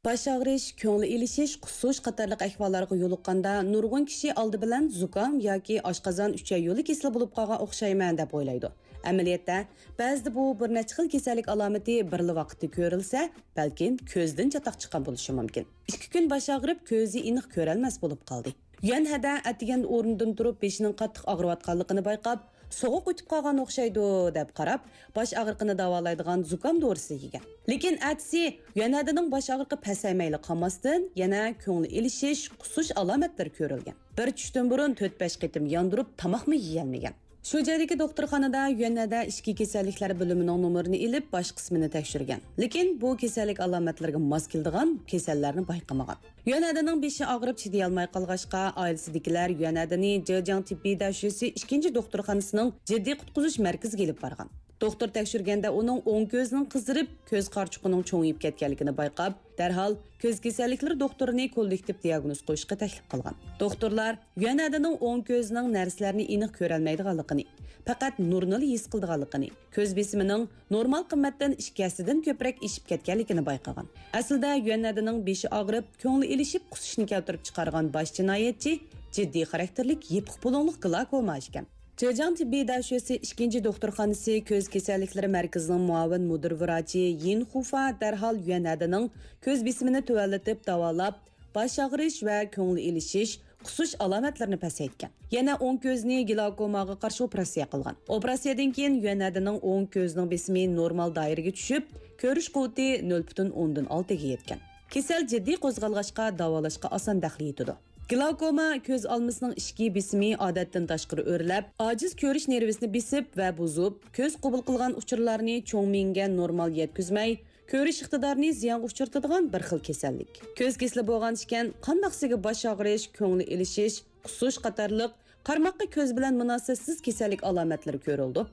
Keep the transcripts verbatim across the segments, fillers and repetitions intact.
باش ئاغرىش، كۆڭۈل ئېلىشىش، قۇسۇش قاتارلىق ئەھۋاللارغا يولۇققاندا نۇرغۇن كىشى ئالدى بىلەن زۇكام ياكى ئاشقازان ئۈچەي يولى كېسىلى بولۇپ قالغان ئوخشايمەن دەپ ئويلايدۇ. ئەمەلىيەتتە، بەزىدە بۇ بىر نەچچە خىل كېسەللىك ئالامىتى بىرلا ۋاقىتتا كۆرۈلسە، بەلكىم كۆزدىن چاتاق چىققان بولۇشى مۇمكىن. ئىككى كۈن باش ئاغرىپ، كۆزى ئېنىق كۆرەلمەس بولۇپ قالدى. يۈەنھەدە ئەتىگەندە ئورنىدىن تۇرۇپ، بېشىنىڭ قاتتىق ئاغرىۋاتقانلىقىنى بايقاپ، سوغۇق ئۆتۈپ قالغان ئوخشايدۇ، دەپ قاراپ، باش ئاغرىقىنى داۋالايدىغان زۇكام دورىسىنى يېگەن. لېكىن ئەتىسى يۈەنھەدىنىڭ باش ئاغرىقى پەسەيمەيلا قالماستىن، يەنە كۆڭۈل ئېلىشىش، قۇسۇش ئالامەتلىرى كۆرۈلگەن. بىر چۈشتىن بۇرۇن تۆت-بەش قېتىم ياندۇرۇپ تاماقمۇ يېيەلمىگەن. شۇ جايدىكى دوختۇرخانىدا يۈەنھەدە ئىچكى كېسەللىكلەر بۆلۈمىنىڭ نومۇرىنى ئېلىپ، باش قىسمىنى تەكشۈرگەن. لېكىن بۇ كېسەللىك ئالامەتلىرىگە ماس كېلىدىغان كېسەللەرنى بايقىمىغان. يۈەنھەدىنىڭ بېشى ئاغرىپ چىدىيالماي قالغاچقا، ئائىلىسىدىكىلەر يۈەنھەدىنى جېجياڭ تېببىي دەشۆسى ئىككىنچى دوختۇرخانىسىنىڭ جىددىي قۇتقۇزۇش مەركىزىگە ئېلىپ بارغان. دوختۇر تەكشۈرگەندە ئۇنىڭ ئوڭ كۆزىنىڭ قىزىرىپ، كۆز قارىچۇقىنىڭ چوڭىيىپ كەتكەنلىكىنى بايقاپ، دەرھال كۆز كېسەللىكلىرى دوختۇرىنى كوللېكتىپ دىياگنوز قويۇشقا تەكلىپ قىلغان. دوختۇرلار يۈەنھەدىنىڭ ئوڭ كۆزىنىڭ نەرسىلەرنى ئېنىق كۆرەلمەيدىغانلىقىنى، پەقەت نۇرنىلا ھېس قىلىدىغانلىقىنى، كۆز بېسىمىنىڭ نورمال قىممەتتىن ئىككى ھەسسىدىن كۆپرەك ئېشىپ كەتكەنلىكىنى بايقىغان. ئەسلىدە يۈەنھەدىنىڭ بېشى ئاغرىپ، كۆڭلى ئېلىشىپ قۇسۇشنى كەلتۈرۈپ چىقارغان باش جىنايەتچى جىددىي خاراكتېرلىك يېپىق بۇلۇڭلۇق گلاكوما ئىكەن. جېجياڭ تېببىي دەشۆسى ئىككىنچى دوختۇرخانىسى كۆز كېسەللىكلىرى مەركىزىنىڭ مۇئاۋىن مۇدىر ۋراچى يىن خۇفا دەرھال يۈەنھەدىنىڭ كۆز بېسىمىنى تۆۋەنلىتىپ داۋالاپ، باش ئاغرىش ۋە كۆڭۈل ئېلىشىش، قۇسۇش ئالامەتلىرىنى پەسەيتكەن. يەنە ئوڭ كۆزىنى گلاكوماغا قارشى ئوپېراتسىيە قىلغان. ئوپېراتسىيەدىن كېيىن يۈەنھەدىنىڭ ئوڭ كۆزىنىڭ بېسىمى نورمال دائىرىگە چۈشۈپ، كۆرۈش قۇۋۋىتى نۆل پۈتۈن ئوندىن ئالتىگە يەتكەن. كېسەل جىددىي قوزغالغاچقا، داۋالاشقا ئاسان دەخلى يېتىدۇ. گلاكوما كۆز ئالمىسىنىڭ ئىچكى بېسىمى ئادەتتىن تاشقىرى ئۆرلەپ، ئاجىز كۆرۈش نېرۋىسىنى بېسىپ ۋە بۇزۇپ، كۆز قوبۇل قىلغان ئۇچۇرلارنى چوڭ مېڭىگە نورمال يەتكۈزمەي، كۆرۈش ئىقتىدارىنى زىيانغا ئۇچرىتىدىغان بىر خىل كېسەللىك. كۆز كېسىلى بولغان ئىكەن، قانداقسىگە باش ئاغرىش، كۆڭلى ئېلىشىش، قۇسۇش قاتارلىق قارىماققا كۆز بىلەن مۇناسىۋەتسىز كېسەللىك ئالامەتلىرى كۆرۈلىدۇ.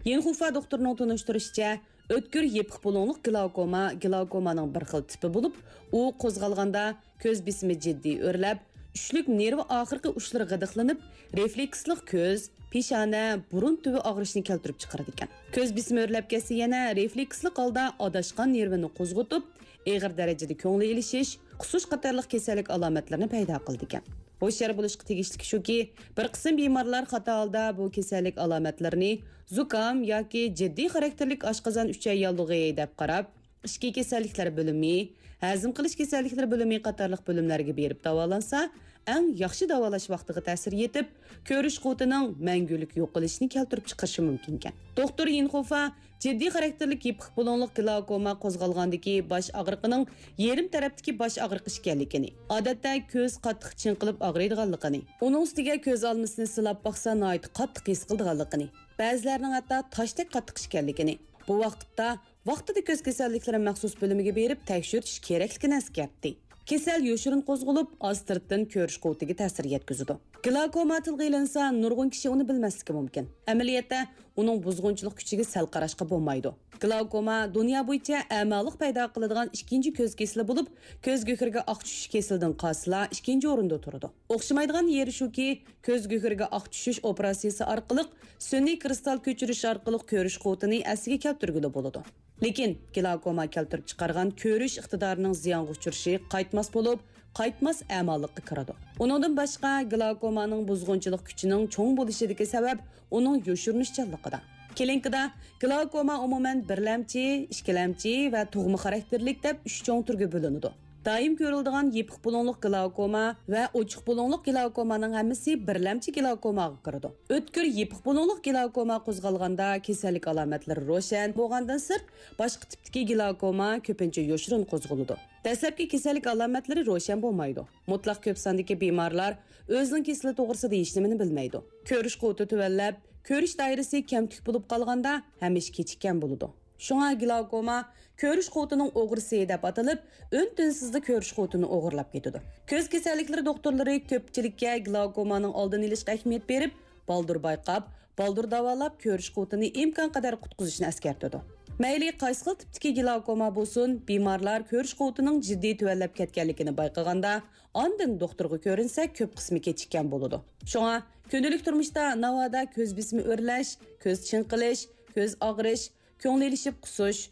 يىنخۇفا دوختۇرنىڭ تونۇشتۇرۇشىچە، ئۆتكۈر يېپىق بۇلۇڭلۇق گلاكوما گلاكومانىڭ بىر خىل تىپى بولۇپ، ئۇ قوزغالغاندا كۆز بېسىمى جىددىي ئۆرلەپ، چۈشلۈك نېرۋا ئاخىرقى ئۇچلىرى غىدىقلىنىپ، رېفلېكسلىق كۆز، پېشانە، بۇرۇن تۈۋى ئاغرىشنى كەلتۈرۈپ چىقىرىدىكەن. كۆز بېسىمى ئۆرلەپ كەتسە يەنە رېفلېكسلىق ھالدا ئاداشقان نېرۋىنى قوزغىتىپ، ئېغىر دەرىجىدە كۆڭلى ئېلىشىش، قۇسۇش قاتارلىق كېسەللىك ئالامەتلىرىنى پەيدا قىلىدىكەن. ھوشيار بولۇشقا تېگىشلىكى شۇكى، بىر قىسىم بىمارلار خاتا ھالدا بۇ كېسەللىك ئالامەتلىرىنى زۇكام ياكى جىددىي خاراكتېرلىك ئاشقازان ئۈچەي ياللۇغى دەپ قاراپ، ئىچكى كېسەللىكلەر بۆلۈمى، ھەزىم قىلىش كېسەللىكلىرى بۆلۈمى قاتارلىق بۆلۈملەرگە بېرىپ داۋالانسا، ئەڭ ياخشى داۋالاش ۋاقتىغا تەسىر يېتىپ، كۆرۈش قۇۋۋىتىنىڭ مەڭگۈلۈك يوقىلىشىنى كەلتۈرۈپ چىقىرىشى مۇمكىنكەن. دوختۇر يىنخۇفا جىددىي خاراكتېرلىك يېپىق بۇلۇڭلۇق گلاكوما قوزغالغاندىكى باش ئاغرىقىنىڭ يېرىم تەرەپتىكى باش ئاغرىقى ئىكەنلىكىنى، ئادەتتە كۆز قاتتىق چىڭقىلىپ ئاغرىيدىغانلىقىنى، ئۇنىڭ ئۈستىگە كۆز ئالمىسىنى سىلاپ باقسا ناھايىتى قاتتىق ھېس قىلىدىغانلىقىنى، بەزىلەرنىڭ ھەتتا تاشتەك قاتتىق ئىكەنلىكىنى، بۇ ۋاقىتتا ۋاقتىدا كۆز كېسەللىكلىرى مەخسۇس بۆلۈمىگە بېرىپ تەكشۈرتۈش كېرەكلىكىنى ئەسكەرتتى. كېسەل يوشۇرۇن قوزغىلىپ، ئاستىرتتىن كۆرۈش قۇۋۋىتىگە تەسىر يەتكۈزىدۇ. گلاكوما تىلغا ئېلىنسا، نۇرغۇن كىشى ئۇنى بىلمەسلىكى مۇمكىن. ئەمەلىيەتتە، ئۇنىڭ بۇزغۇنچىلىق كۈچىگە سەل قاراشقا بولمايدۇ. گلاكوما دۇنيا بويىچە ئەمالىق پەيدا قىلىدىغان ئىككىنچى كۆز كېسىلى بولۇپ، كۆز گۆھىرىگە ئاق چۈشۈش كېسىلىدىن قالسىلا ئىككىنچى ئورۇندا تۇرىدۇ. ئوخشىمايدىغان يېرى شۇكى، كۆز گۆھىرىگە ئاق چۈشۈش ئوپېراتسىيىسى ئارقىلىق سۈنئىي كىرىستال كۆچۈرۈش ئارقىلىق كۆرۈش قۇۋۋىتىنى ئەسلىگە كەلتۈرگىلى بولىدۇ. لېكىن گلاكوما كەلتۈرۈپ چىقارغان كۆرۈش ئىقتىدارىنىڭ زىيانغا ئۇچرىشى قايتماس بولۇپ، قايتماس ئەمالىققا كىرىدۇ. ئۇنىڭدىن باشقا، گلاكومانىڭ بۇزغۇنچىلىق كۈچىنىڭ چوڭ بولۇشىدىكى سەۋەب ئۇنىڭ يوشۇرۇنۇشچانلىقىدا. كلىنىكىدا گلاكوما ئومۇمەن بىرلەمچى، ئىككىلەمچى ۋە تۇغما خاراكتېرلىك دەپ ئۈچ چوڭ تۈرگە بۆلۈنىدۇ. دائىم كۆرۈلىدىغان يېپىق بۇلۇڭلۇق گلاكوما ۋە ئوچۇق بۇلۇڭلۇق گلاكومانىڭ ھەممىسى بىرلەمچى گلاكوماغا كىرىدۇ. ئۆتكۈر يېپىق بۇلۇڭلۇق گلاكوما قوزغالغاندا كېسەللىك ئالامەتلىرى روشەن بولغاندىن سىرت، باشقا تىپتىكى گلاكوما كۆپىنچە يوشۇرۇن قوزغىلىدۇ. دەسلەپكى كېسەللىك ئالامەتلىرى روشەن بولمايدۇ. مۇتلەق كۆپ ساندىكى بىمارلار ئۆزىنىڭ كېسىلى توغرىسىدا ھېچنېمىنى بىلمەيدۇ. كۆرۈش قۇۋۋىتى تۆۋەنلەپ، كۆرۈش دائىرىسى كەمتۈك بولۇپ قالغاندا ھەمىشە كېچىككەن بولىدۇ. شۇڭا گلاكوما كۆرۈش قۇۋۋىتىنىڭ ئوغرىسى دەپ ئاتىلىپ، ئۈن-تىنسىزلا كۆرۈش قۇۋۋىتىنى ئوغرىلاپ كېتىدۇ. كۆز كېسەللىكلىرى دوختۇرلىرى كۆپچىلىككە گلاكومانىڭ ئالدىنى ئېلىشقا ئەھمىيەت بېرىپ، بالدۇر بايقاپ، بالدۇر داۋالاپ، كۆرۈش قۇۋۋىتىنى ئىمكانقەدەر قۇتقۇزۇشنى ئەسكەرتىدۇ. مەيلى قايسى خىل تىپتىكى گلاكوما بولسۇن، بىمارلار كۆرۈش قۇۋۋىتىنىڭ جىددىي تۆۋەنلەپ كەتكەنلىكىنى بايقىغاندا، ئاندىن دوختۇرغا كۆرۈنسە، كۆپ قىسمى كېچىككەن بولىدۇ. شۇڭا كۈندىلىك تۇرمۇشتا ناۋادا كۆز بېسىمى ئۆرلەش، كۆز چىڭقىلىش، كۆز ئاغرىش، كۆڭلى ئېلىشىپ قۇسۇش،